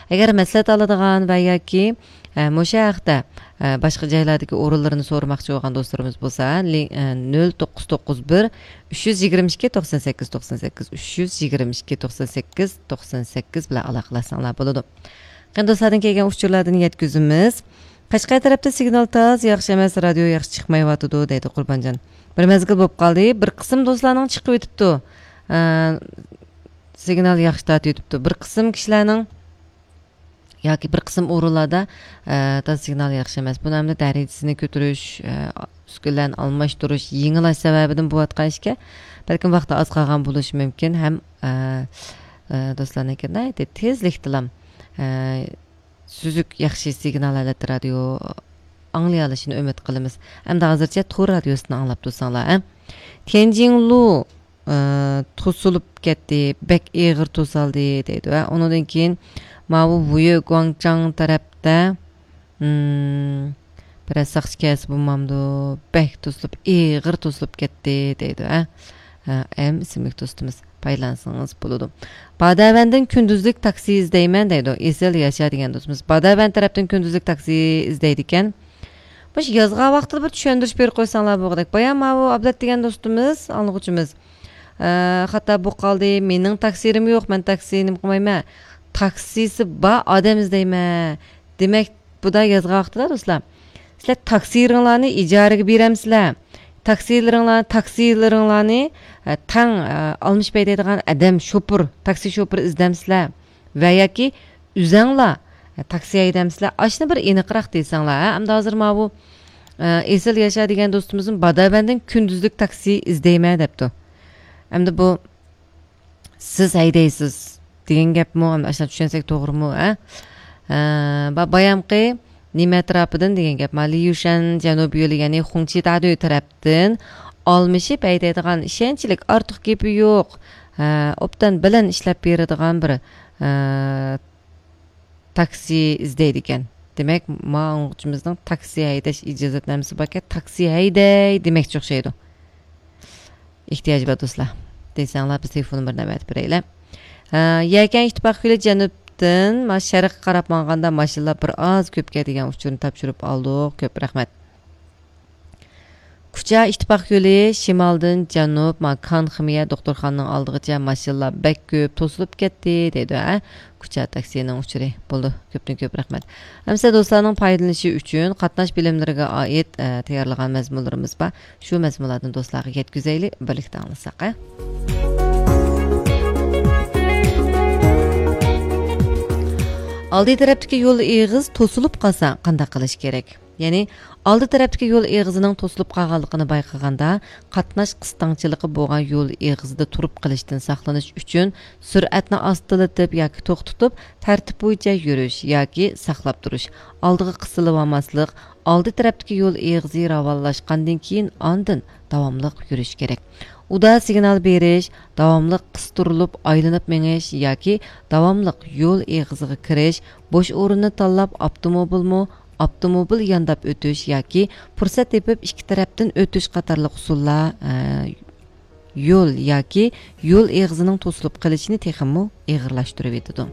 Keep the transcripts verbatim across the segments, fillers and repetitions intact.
ئەگەر مەسلىھەت ئالىدىغان ۋە ياكى، ئە، مۇشۇ ھەقتە، ئە، باشقا جايلاردىكى ئورۇنلىرىنى سورىماقچى بولغان دوستلىرىمىز بولسا، لىڭ-، ئە، نۆل توققۇز توققۇز بىر، ئۈچ يۈز يىگىرمە ئىككى، توقسان سەككىز، توقسان سەككىز، ئۈچ يۈز يىگىرمە ئىككى، توقسان سەككىز، توقسان سەككىز بىلەن ئالاقىلەشسەڭلار بولىدۇ. قېنى دوستلاردىن كەلگەن ئۇچۇرلاردىن يەتكۈزىمىز. قەشقەر تەرەپتە سىگنال تاز، ياخشى ئەمەس، رادىيو ياخشى چىقمايۋاتىدۇ، دەيدۇ قۇربانجان. بىر مەزگىل بولۇپ قالدى، بىر قىسىم دوستلارنىڭ چىقىۋېتىپتۇ. ئە، سىگنال ياخشى تارتىۋېتىپتۇ. بىر قىسىم كىشىلەرنىڭ ياكى بىر قىسىم ئورۇنلاردا، ئە، تاز سىگنال ياخشى ئەمەس. بۇنى ئەمدى دەرىجىسىنى كۆتۈرۈش، ئە، ئۈسكۈنىلەرنى ئالماشتۇرۇش، يېڭىلاش سەۋەبىدىن بولۇۋاتقان ئىشكەن. بەلكىم ۋاقتى ئاز قالغان بولۇشى مۇمكىن ھەم، ئە، ئە، دوستلارنىڭكى ناھايىتى تېزلىكتىلا، ئە، سۈزۈك ياخشى سىگنال ھالەتتە رادىيو ئاڭلىيالىشىنى ئۈمىد قىلىمىز. ئەمدى ھازىرچە تور رادىيوسىدىن ئاڭلاپ تۇرساڭلار، ھە؟ تيەنجىنلۇ، ئى، توسۇلۇپ كەتتى، بەك ئېغىر توسالدى دەيدۇ، ھە؟ ئۇنىڭدىن كېيىن ماۋۇ ۋۇيې گۇاڭجاڭ تەرەپتە، ئىم، بىرەر ساقچى كەلسە بولمامدۇ؟ بەك توسۇلۇپ، ئېغىر توسۇلۇپ كەتتى دەيدۇ، ھە؟ ھە، ئەم ئىسىملىك دوستىمىز. پايدىلانسىڭىز بولىدۇ. باداۋەندىن كۈندۈزلۈك تاكسى ئىزدەيمەن دەيدۇ. ئېسىل ياشا دېگەن دوستىمىز. باداۋەن تەرەپتىن كۈندۈزلۈك تاكسى ئىزدەيدىكەن. مۇشۇ يازغان ۋاقتىدا بىر چۈشەندۈرۈش بېرىپ قويساڭلار بولغۇدەك. بايا ماۋۇ ئابلەت دېگەن دوستىمىز، ئاڭلىغۇچىمىز، ئە، خاتا بولۇپ قالدى. مېنىڭ تاكسىرىم يوق، مەن تاكسى نېمە قىلمايمەن. تاكسىسى بار ئادەم ئىزدەيمەن. دېمەك، بۇدا يازغان ۋاقتىدا، دوستلار، سىلەر تاكسىلىرىڭلارنى ئىجارىگە بېرەمسىلەر؟ تاكسىلىرىڭلار، تاكسىلىرىڭلارنى، ئە، تەڭ، ئە، ئالمىشىپ ھەيدەيدىغان ئادەم، شوپۇر، تاكسى شوپۇرى ئىزدەمسىلەر؟ ۋە ياكى ئۆزەڭلار، ئە، تاكسى ھەيدەمسىلەر؟ ئاشۇنى بىر ئېنىقراق دېسەڭلار، ھە؟ ئەمدى ھازىر ماۋۇ، ئە، ئېسىل ياشا دېگەن دوستىمىزمۇ باداۋەندىن كۈندۈزلۈك تاكسى ئىزدەيمەن دەپتۇ. ئەمدى بۇ سىز ھەيدەيسىز دېگەن گەپمۇ؟ ئەمدى ئاشۇنداق چۈشەنسەك توغرىمۇ، ھە؟ ھە، با-، بايامقى نېمە ئەتراپىدىن دېگەن گەپ؟ ما ليۇشەن جەنۇبىي يولى، يەنى خۇڭچى تادۈ تەرەپتىن ئالمىشىپ ھەيدەيدىغان، ئىشەنچلىك، ئارتۇق گېپى يوق، ھە، ئوبدان بىلەن ئىشلەپ بېرىدىغان بىر، ھە، تاكسى ئىزدەيدىكەن. دېمەك، ما ئاڭلىغۇچىمىزنىڭ تاكسى ھەيدەش ئىجازەتنامىسى باركەن، تاكسى ھەيدەي دېمەكچى ئوخشايدۇ. ئېھتىياجى بار دوستلار دېسەڭلار، بىز تېلېفون نومۇرىنى ئەۋەتىپ بېرەيلى. ھە، يەكەن ئىتتىپاق يولى جەنۇبتىن، ما، شەرققە قاراپ ماڭغاندا ماشىنىلار بىر ئاز كۆپكەن دېگەن ئۇچۇرنى تاپشۇرۇپ ئالدۇق. كۆپ رەھمەت. كۇچا ئىتتىپاق يولى شىمالدىن جەنۇب، ما، كان خىمىيە دوختۇرخانىنىڭ ئالدىغىچە ماشىنىلار بەك كۆپ توسۇلۇپ كەتتى، دەيدۇ، ھە؟ كۇچا تاكسىنىڭ ئۇچۇرى. بولدى، كۆپتىن كۆپ رەھمەت. ئەمىسە دوستلارنىڭ پايدىلىنىشى ئۈچۈن قاتناش بىلىملىرىگە ئائىت، ئە، تەييارلىغان مەزمۇنلىرىمىز بار. شۇ مەزمۇنلاردىن دوستلارغا يەتكۈزەيلى، بىرلىكتە ئاڭلىساق، ھە؟ ئالدى تەرەپتىكى يول ئېغىز توسۇلۇپ قالسا قانداق قىلىش كېرەك؟ يەنى، ئالدى تەرەپتىكى يول ئېغىزىنىڭ توسۇلۇپ قالغانلىقىنى بايقىغاندا، قاتناش قىستاڭچىلىقى بولغان يول ئېغىزىدا تۇرۇپ قېلىشتىن ساقلىنىش ئۈچۈن، سۈرئەتنى ئاستىلىتىپ ياكى توختىتىپ، تەرتىپ بويىچە يۈرۈش ياكى ساقلاپ تۇرۇش، ئالدىغا قىستىلىۋالماسلىق، ئالدى تەرەپتىكى يول ئېغىزى راۋانلاشقاندىن كېيىن، ئاندىن داۋاملىق يۈرۈش كېرەك. ئۇدا سىگنال بېرىش، داۋاملىق قىستۇرۇلۇپ ئايلىنىپ مېڭىش ياكى داۋاملىق يول ئېغىزىغا كىرىش، بوش ئورۇننى تاللاپ ئاپتوموبىلمۇ، ئاپتوموبىل يانداپ ئۆتۈش ياكى پۇرسەت تېپىپ ئىككى تەرەپتىن ئۆتۈش قاتارلىق ئۇسۇللار، ئە، يول ياكى يول ئېغىزىنىڭ توسۇلۇپ قېلىشىنى تېخىمۇ ئېغىرلاشتۇرۇۋېتىدۇ.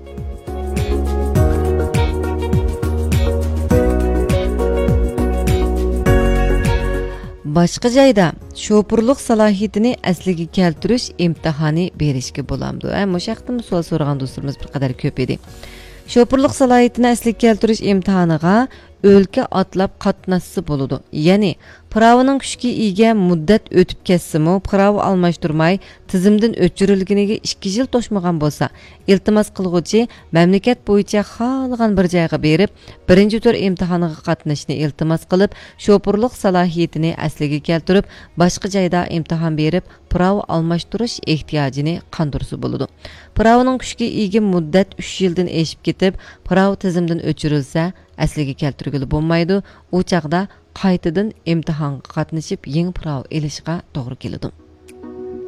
باشقا جايدا شوپۇرلۇق سالاھىيىتىنى ئەسلىگە كەلتۈرۈش ئىمتىھانى بېرىشكە بولامدۇ؟ ھە، مۇشۇ ھەقتىمۇ سوئال سورىغان دوستلىرىمىز بىر قەدەر كۆپ ئىدى. شوپۇرلۇق سالاھىيىتىنى ئەسلىگە كەلتۈرۈش ئىمتىھانىغا ئۆلكە ئاتلاپ قاتناشسا بولىدۇ. يەنى، پىراۋىنىڭ كۈچكە ئىگە مۇددەت ئۆتۈپ كەتسىمۇ، پىراۋا ئالماشتۇرماي، تىزىمدىن ئۆچۈرۈلگىنىگە ئىككى يىل توشمىغان بولسا، ئىلتىماس قىلغۇچى مەملىكەت بويىچە خالىغان بىر جايغا بېرىپ، بىرىنچى تۈر ئىمتىھانىغا قاتنىشىشنى ئىلتىماس قىلىپ، شوپۇرلۇق سالاھىيىتىنى ئەسلىگە كەلتۈرۈپ، باشقا جايدا ئىمتىھان بېرىپ، پىراۋا ئالماشتۇرۇش ئېھتىياجىنى قاندۇرسا بولىدۇ. پىراۋىنىڭ كۈچكە ئىگە مۇددەت ئۈچ يىلدىن ئېشىپ كېتىپ، پىراۋا تىزىمدىن ئۆچۈرۈلسە، ئەسلىگە كەلتۈرگىلى بولمايدۇ. ئۇ چاغدا قايتىدىن ئىمتىھانغا قاتنىشىپ، يېڭى پىراۋا ئېلىشقا توغرا كېلىدۇ.